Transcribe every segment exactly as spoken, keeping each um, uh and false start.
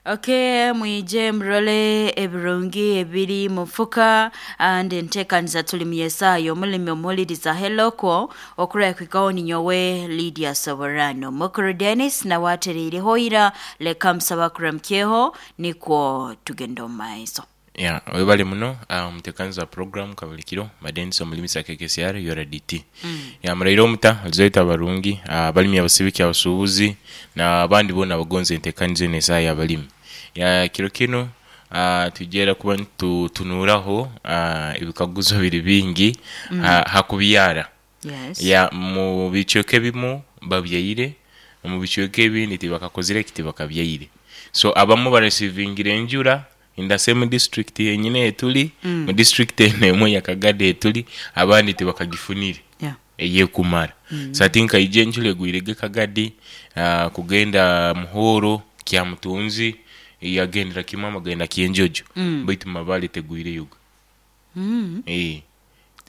Okay, mwije murole ebirungi ebiri mufuka and enteekaniza tuli mu Yesaya omulimi omuhuliriza heloko okurakwikaho ninyowe Lydia Soborano Mukuru Dennis nawe atereireho ira leka musaba kuramukyeho nikwo tugenda omu maiso. Ya, webale muno uh, omutekanizi wa program kabulikiro madenisi omulimisa K K C R U R D T. mm. Ya, muraire omuta alizoita abarungi, abalimi, abasibiki, abasuubuzi n'abandi boona abagonza entekaniza enu esaaha y'abalimi. Ya, kiro kinu uh, twijera kuba nitutunuraho uh, ebikaguzo biri bingi mm. ha, ha kubyara. Yes. Ya, mu bicweka ebimu babyaire, mu bicweka ebindi tibakakozire ki, tibakabyaire. So abamu baresivingire enjura in the same district yenyine etuli, mm. mu district eno emwe ya Kagadi etuli, abandi tibakagifunire Yeah. eyekumara. mm. So ati nkaija enjura egwirege Kagadi, uh, kugenda Muhoro, Kyamutunzi, yagendera kimu amagenda Kyenjojo, mm. baitu Mabale tegwireyoga. Mm. Eh,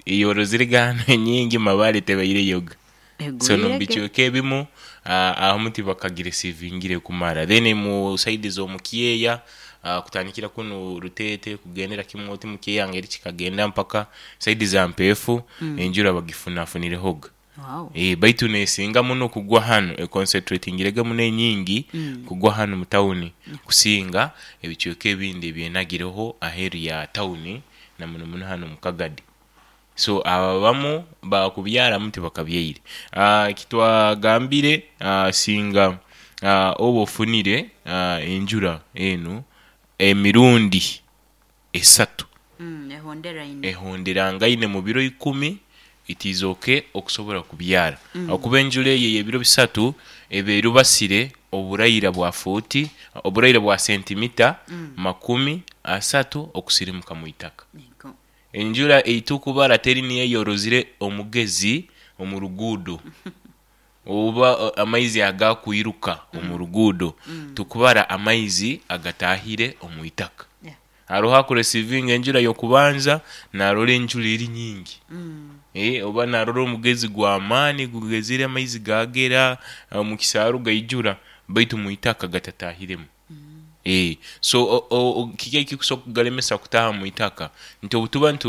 eyorozire gano enyingi, Mabale tebaireyoga. So Egwirege. nomubicweka ebimu uh, ahamu tibakagiresivingire kumara. Then mu side z'omukyeya, uh, kutandikira kunu Rutete kugendera kimu oti mukyeya ngeri kikagenda mpaka side za Mpeefu, mm. enjura bagifunafunirehoga. Wow. E, baitu nesinga muno kugwa hanu, econcentratingirege muno enyingi mm. kugwa hanu mu tawuni kusinga ebicweka ebindi ebyenagireho aheeru ya tawuni, na muno muno hanu mu Kagadi. So aba bamu bakubyaramu tibakabyaire. uh, kitwagambire, uh, singa uh, oba ofunire uh, enjura enu emirundi esatu Mm, ehonderaine. Ehonderangaine mu biro ikumi, it is okay okusobora kubyara, mm. okuba enjura eyo ey'ebiro bisatu eba erubasire oburaira bwa fuuti, oburaira bwa sentimita mm. makumi asatu okusirimuka mu itaka. Yego. Enjura eitukubara teri niyo eyorozire omugezi omu ruguudo oba o, amaizi agakwiruka omu ruguudo. Tukubara amaizi agatahire omu itaka. Yeah. Haroho akuresivinga enjura y'okubanza, narora enjura eri nyingi, Mm. e, oba narora omugezi gw'amaani gugezire, amaizi gagera mu kisaaru gaijura, baitu mu itaka gatatahiremu. E, so o- o- kiki ekikusobola kugalemesa kutaha mu itaka nti obutuba nitu